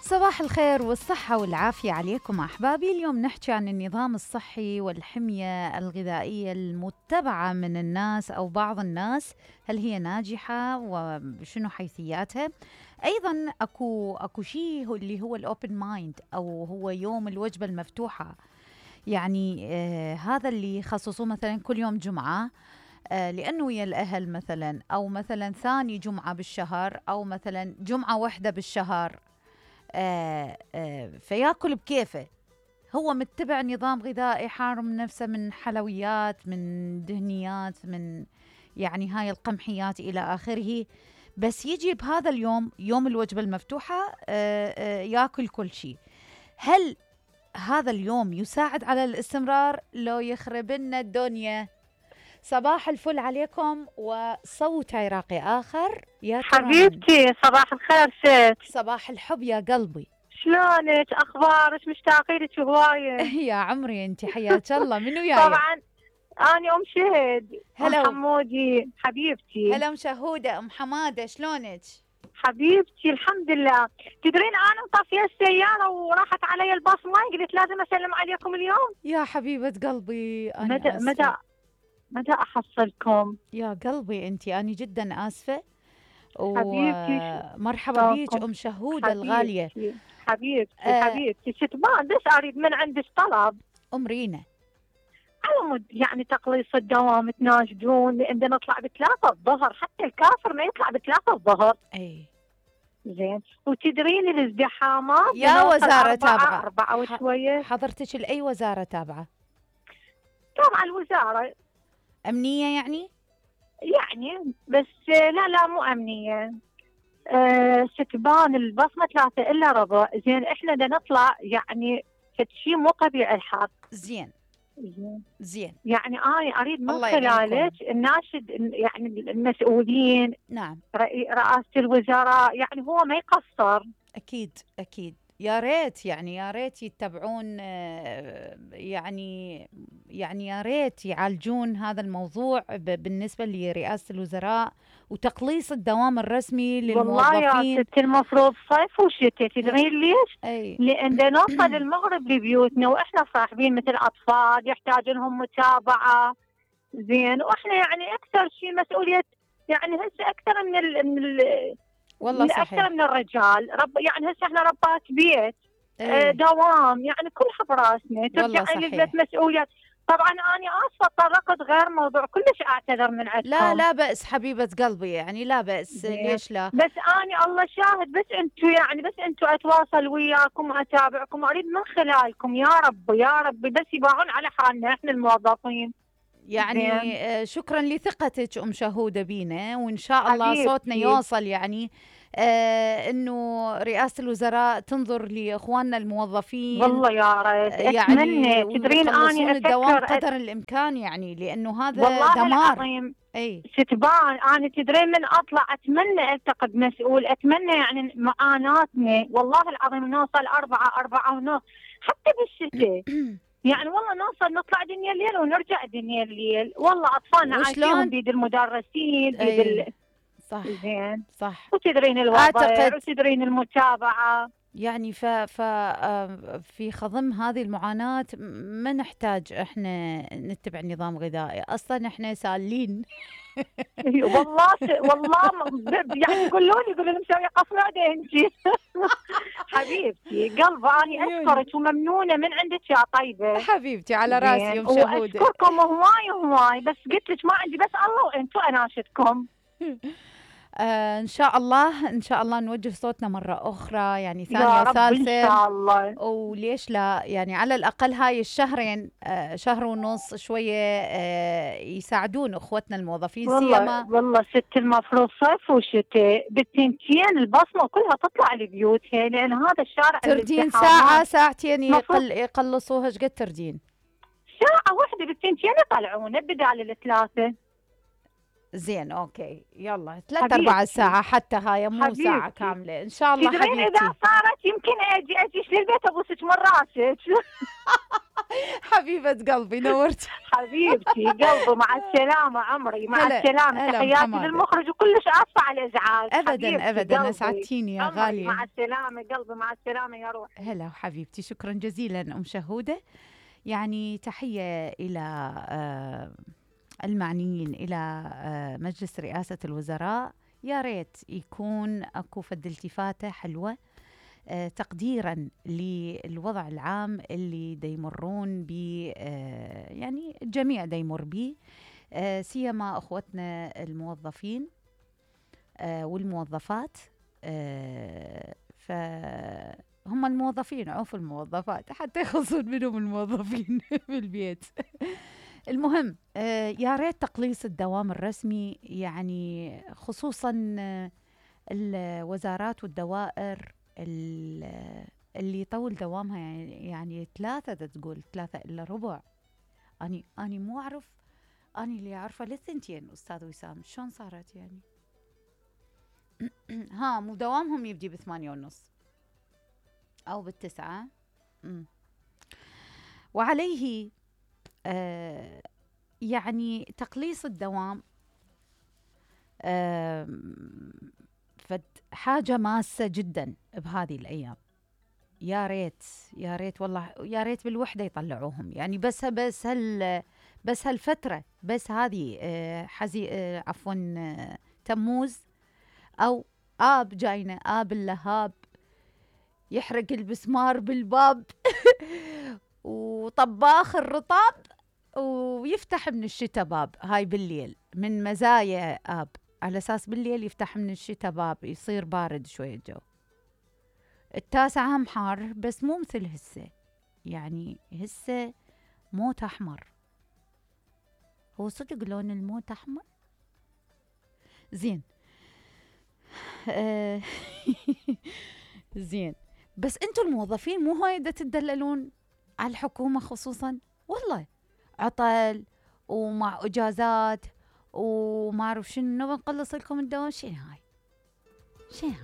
صباح الخير والصحة والعافية عليكم أحبابي. اليوم نحكي عن النظام الصحي والحمية الغذائية المتبعة من الناس أو بعض الناس، هل هي ناجحة وشنو حيثياتها؟ أيضا أكو شيء اللي هو الأوبن مايند أو هو يوم الوجبة المفتوحة، يعني هذا اللي يخصصوه مثلا كل يوم جمعة لأنه ويا الأهل مثلا، أو مثلا ثاني جمعة بالشهر، أو مثلا جمعة واحدة بالشهر. فياكل بكيفه، هو متبع نظام غذائي، حارم نفسه من حلويات، من دهنيات، من يعني هاي القمحيات إلى آخره، بس يجي بهذا اليوم يوم الوجبة المفتوحة ياكل كل شيء. هل هذا اليوم يساعد على الاستمرار لو يخرب لنا الدنيا؟ صباح الفل عليكم وصوت عراقي آخر. يا حبيبتي صباح الخير ست. صباح الحب يا قلبي، شلونك؟ اخبارك؟ مشتاقه لك هوايه. يا عمري انت، حياك الله. منو وياي؟ طبعا انا ام شهد. هلا حمودي حبيبتي. هلا مشهوده ام حماده، شلونك؟ حبيبتي الحمد لله. تدرين انا مطفيه السياره وراحت علي الباص ماي، قلت لازم اسلم عليكم اليوم. يا حبيبه قلبي انا متى احصلكم يا قلبي انت، انا جدا اسفه ومرحبا بيك ام شهوده الغاليه. حبيبتي ستبان، بس اريد من عندك طلب. امرينا. على مود يعني تقليص الدوام تناشدون، لان نطلع ب3 الظهر، حتى الكافر ما يطلع ب3 الظهر. اي زين، وتدرين الازدحامات يا وزاره تابعه 4 وشويه. حضرتك لاي وزاره تابعه؟ تابعه الوزاره. امنيه يعني بس لا مو امنيه. ستبان البصمه 3 الا ربع. زين احنا بدنا نطلع يعني شيء مو طبيعي الحر. زين يعني انا اريد من خلالك الناشد يعني المسؤولين. نعم. رئاسه الوزراء، يعني هو ما يقصر. اكيد يا ريت، يعني يا ريت يتبعون، يعني يا ريت يعالجون هذا الموضوع بالنسبه لرئاسه الوزراء وتقليص الدوام الرسمي للموظفين. والله يا ستي المفروض صيف وشتاء، تدرين ليش؟ لان نوصل المغرب لبيوتنا واحنا صاحبين مثل اطفال يحتاج لهم متابعه. زين، واحنا يعني اكثر شيء مسؤوليه، يعني هسه اكثر من والله صحيح، اكثر من الرجال. يعني هسه احنا ربات بيت. دوام يعني كلها براسنا، ترجع للبيت مسؤوليات. طبعا انا اسفه طرقت غير موضوع، كلش اعتذر من عندكم. لا بأس حبيبه قلبي، يعني لا بأس. ليش لا؟ بس انا الله شاهد، بس انتم اتواصل وياكم واتابعكم، اريد من خلالكم يا رب بس يباعون على حالنا احنا الموظفين. يعني شكرا لثقتك ام شهوده بينا، وان شاء الله صوتنا يوصل، يعني انه رئاسه الوزراء تنظر لاخواننا الموظفين. والله يا ريت يعني تدرين اني الدوام قدر الامكان، يعني لانه هذا والله دمار. العظيم. ستبان انا تدرين من اطلع اتمنى التقي بمسؤول، اتمنى يعني معاناتنا والله العظيم نوصل 4 ونص حتى بالشتاء. يعني والله نطلع دنيا الليل ونرجع دنيا الليل. والله اطفالنا عايشين بيد المدرسين بيد صح زين صح. وتدرين الوضع وتدرين المتابعه. يعني في خضم هذه المعاناة ما نحتاج احنا نتبع نظام غذائي، اصلا احنا سالين. والله يعني يقولوا لي مسويه قصاده انت. حبيبتي قلبي اني اشكرك وممنونه من عندك يا طيبه. حبيبتي على راسي يوم شهوده. واشكركم هواي، بس قلت لك ما عندي، بس الله وانتم اناشدكم. ان شاء الله نوجه صوتنا مره اخرى، يعني ثانيه وثالثه ان شاء الله. وليش لا؟ يعني على الاقل هاي الشهرين، شهر ونص شويه يساعدون اخوتنا الموظفين. والله ست المفروض صيف وشتاء بالتنتين البصمه كلها تطلع لبيوتها، لان هذا الشارع تردين ساعتين يقلصوها. ايش قد تردين؟ ساعه واحده بالتنتين يطلعونه بدال ال3. زين اوكي، يلا 3-4 ساعة حتى، هاي مو ساعة كاملة ان شاء الله. تدرين اذا صارت يمكن اجيش للبيت ابوسك من راسك. حبيبة قلبي نورتي. حبيبتي قلبي، مع السلامة عمري، مع هلا السلامة. هلا تحياتي محمد. للمخرج، وكلش آسفة على الإزعاج. ابدا ابدا قلبي اسعدتيني يا عمري، غالية. مع السلامة قلبي، مع السلامة يا روحي. هلا وحبيبتي، شكرا جزيلا ام شهودة. يعني تحية الى المعنيين، الى مجلس رئاسة الوزراء. يا ريت يكون اكو فد التفاتة حلوة تقديرا للوضع العام اللي يمرون به، يعني الجميع يمر به، سيما اخوتنا الموظفين والموظفات. فهم الموظفين، عوف الموظفات حتى يخلصون منهم الموظفين بالبيت. المهم يا ريت تقليص الدوام الرسمي، يعني خصوصا الوزارات والدوائر اللي يطول دوامها، يعني 3 تقول 3 إلا ربع. أني مو أعرف، أني اللي أعرفه للثنتين أستاذ وسام، شلون صارت يعني؟ ها مو دوامهم يبدي ب8:30 أو ب9. وعليه يعني تقليص الدوام حاجة ماسة جدا بهذه الأيام. يا ريت يا ريت والله، يا ريت بالوحدة يطلعوهم، يعني بس هالفترة، بس هذه عفوا تموز أو آب جاينا، آب اللهاب يحرق البسمار بالباب وطباخ الرطاب ويفتح من الشتاء باب. هاي بالليل من مزايا آب، على أساس بالليل يفتح من الشتاء باب يصير بارد شوية الجو. 9 هم حار، بس مو مثل هسه، يعني هسه موت أحمر. هو صدق لون الموت أحمر زين. زين، بس انتم الموظفين مو هاي تدللون على الحكومة خصوصا، والله عطل ومع اجازات وما اعرف شنو، بنقلص لكم الدوام. شنو هاي؟